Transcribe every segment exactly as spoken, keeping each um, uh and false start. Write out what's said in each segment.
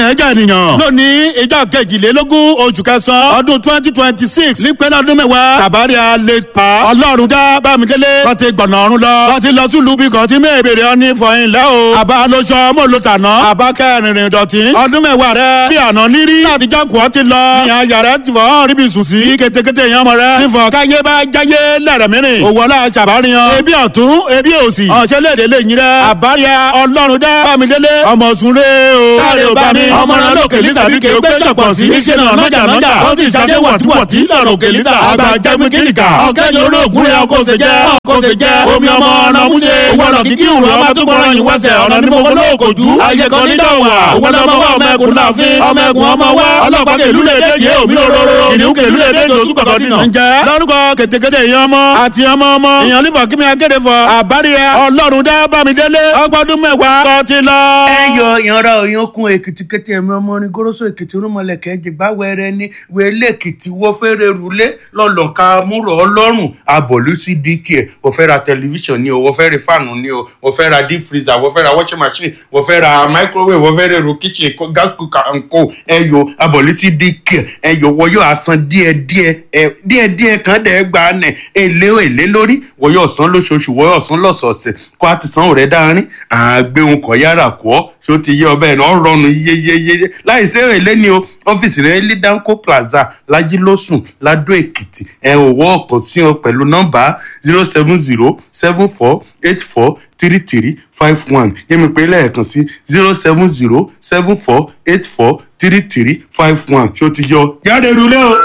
Ilẹ̀ ẹja ènìyàn. Lónìí ìjọ kejìlélógún oṣù kẹsàn-án ọdún twenty twenty six nípínlẹ̀ ọdún mẹ́wàá tàbáríà lè pa Ọlọ́run dá Bámidélé kọ́ ti gbọ̀nà ọ̀run lọ kọ́ ti lọ túlù bí kọ́ ti mẹ́ẹ̀bẹ̀rẹ̀ ọ ní fọyín lẹ́ o. Àbá lóṣọ mọ́ ló tàná àbá kẹrìnrìn dọ̀tí ọdún mẹ́wàá rẹ bí àná nírí láti jọ́kù ọ ti lọ ní ayà rẹ ti fọ́ ríbi sùn sí kétékété yẹn ọmọ rẹ nífọ̀ káyé bá jáyé lẹ́rẹ̀ mìíràn òwò ọlá ṣàbáríyan ebi ọ̀tún ebi òsì ọ̀ṣẹ́lẹ̀dẹ̀ lè yín rẹ àbáríà Ọlọ́run dá Bámidélé ọmọ sùnre o. Káre ò bá mi ọmọ rẹ lókè lisa bí kéwòn gbé ṣọ̀pọ̀ sí iṣẹ́ náà nájà nájà ó ti ṣàdé wọ̀tíwọ̀tí lọ́rọ̀ òkè lisa àgbà jẹ́mi kíríkà ọ̀kẹ́ni olóògùn rẹ̀ ọkọ̀ ṣe jẹ́ ọkọ̀ ṣe jẹ́ omi ọmọ ọ̀nà múṣe owó ọ̀nà kìkì ìrù ọmọ tó gbọ́rọ̀ yìí wẹ́sẹ̀ ọ̀nà ní mo lóòkò jú ayé kan ní dọ̀wà owó ọmọ wa ọmọ ẹkùn láàfin ọmọ ẹkùn ọmọ wa ọlọ́pàá kèlú lè dé yé omi òróró kìnìún kèlú lè dé jòsú kọ̀kọ́ dínà. Ǹjẹ́ lórúkọ kètèkètè èèyàn ọmọ àti ọmọ ọmọ èèyàn lífọ̀ kí mi akéde fọ àbáríyá Ọlọ́run dá Bámidélé ọgbọ́dún mẹ́wàá kọ́ ti lọ. Ẹ yọ ìyanra òyìnkùn Èkìtì kété ẹ̀mí ọmọ orin goroso Èkìtì rúmọlẹ̀kẹ́ jìgbà wẹrẹ ní wẹlé Èkìtì wọ́ fẹ́rẹ̀ rúlé lọ́lọ́ka múrò ọlọ́run abọ̀lú sí dk ẹ̀ wọ́n fẹ́ ra tẹlifíṣàn ni o wọ́n fẹ́ ra fáànù ni o wọ́n fẹ́ ra deep freezer, wọ́n fẹ́ ra washing machine, wọ́n fẹ́ ra microwave, wọ́n fẹ́ ra èrò kitchen gas cooker and co. Ẹ yọ abọ̀lú sí dk ẹ yọ wọ́n yóò san díẹ̀díẹ̀ ẹ díẹ̀díẹ̀ kan dẹ̀ gba nẹ̀ èlé èlé lórí wọ́n yóò san lóṣooṣù, wọ́n yóò san lọ́sọ̀ọ̀sẹ̀ kó a ti san òrẹ́ dáárín àgbéhùn kọ̀ yára kọ́ ṣó ti yé ọbẹ̀ náà rọrùn yeyeyeye láì sí èlé ni o. Ọ́fíìsì rẹ̀ ní Danco Plaza Lajilósùn Ladó Èkìtì. Ẹ ò wọ́ ọ̀kan sí ọ pẹ̀lú nọ́mbà zero seven zero seven four eight four three three five one. Yẹ́mi pé lẹ́ẹ̀kan sí zero seven zero seven four eight four three three five one. Ṣó ti yọ jáde rúlé o.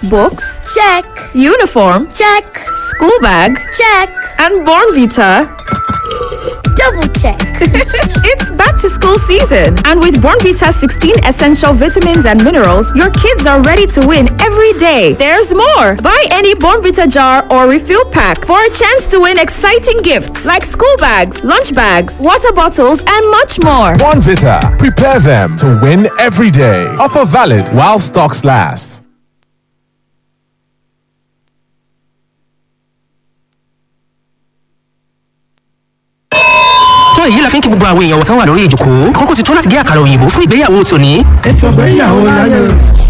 Books? Check. Uniform? Check. School bag? Check. And Bornvita. Double check. It's back to school season, and with Bornvita sixteen essential vitamins and minerals, your kids are ready to win every day. There's more. Buy any Bornvita jar or refill pack for a chance to win exciting gifts like school bags, lunch bags, water bottles, and much more. Bonvita. Prepare them to win every day. Offer valid while stocks last. Tó èyí la fi ń kí gbogbo àwọn èèyàn wọ̀tán wà lórí ìjòkó kókó ti tó láti gé àkàrà òyìnbó fún ìgbéyàwó tòní. Ètò ìgbéyàwó láyé.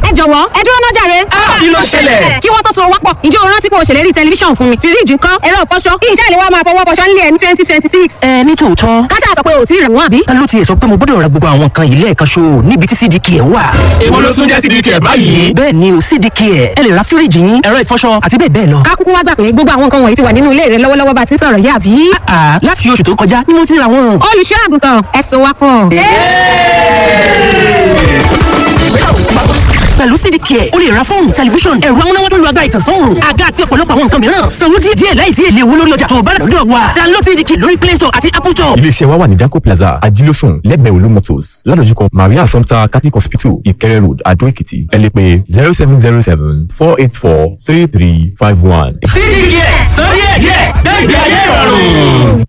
Ẹ jọ̀wọ́, ẹ dúró náà jàre. Kí ló ṣẹlẹ̀? Kí wọ́n tó so wápọ̀, ǹjẹ́ o rántí pé o ṣèlérí tẹlifíṣàn fún mi? Fíríjì ńkọ́, ẹ̀rọ ìfọṣọ, kí iṣẹ́ ìléwọ́ máa fọwọ́ fọṣọ nílé ẹ̀ ní twenty twenty six. Ẹ ní tòótọ́. Kájà sọ pé o ò tí ì rẹ̀ wọ́n àbí. Ta ló tiẹ̀ sọ pé mo gbọ́dọ̀ ra gbogbo àwọn nǹkan yìí lẹ́ẹ̀kan ṣo níbi tí C D K ẹ̀ wà? Èwo ló tún jẹ́ C D K báyìí? Bẹ́ẹ̀ ni o, C D K ẹ̀. Ẹ lè ra fíríjì yín, ẹ̀rọ ìfọṣọ àti bẹ́ẹ̀ bẹ́ẹ̀ lọ. Ká kúkú wá gbà pé gbogbo àwọn nǹkan wọ̀nyí ti wà nínú ilé rẹ lọ́wọ́lọ́wọ́ bá ti ń sọ̀rọ̀ yìí, àbí? Àà, láti oṣù tó kọjá ni mo ti ra wọn. Olùṣọ́ àgùntàn, ẹ so wá pọ̀. Pẹ̀lú C D K, o lè ra fóònù, tẹlifíṣàn, ẹ̀rọ amúnáwá tó ń lo agbára ìtànsán òòrùn, àga àti ọ̀pọ̀lọpọ̀ àwọn nǹkan mìíràn. Sanwó díẹ̀ díẹ̀ láìsí èlé owó lórí ọjà tó o bá rà lọ́dọ̀ wa. Download C D K lórí Play Store àti Apple Store. Iléeṣẹ́ wa wà ní Danco Plaza, Ajílósùn, lẹ́gbẹ̀ẹ́ Olú Motors, ládojúkọ Maria Assumpta Catholic Hospital, Ìkẹrẹ Road, Adó Èkìtì. Ẹ lè pè zero seven zero seven four eight four three three five one. C D K sọ díẹ̀ díẹ̀ gbẹ̀gbẹ̀ ayé ìrọ̀rùn.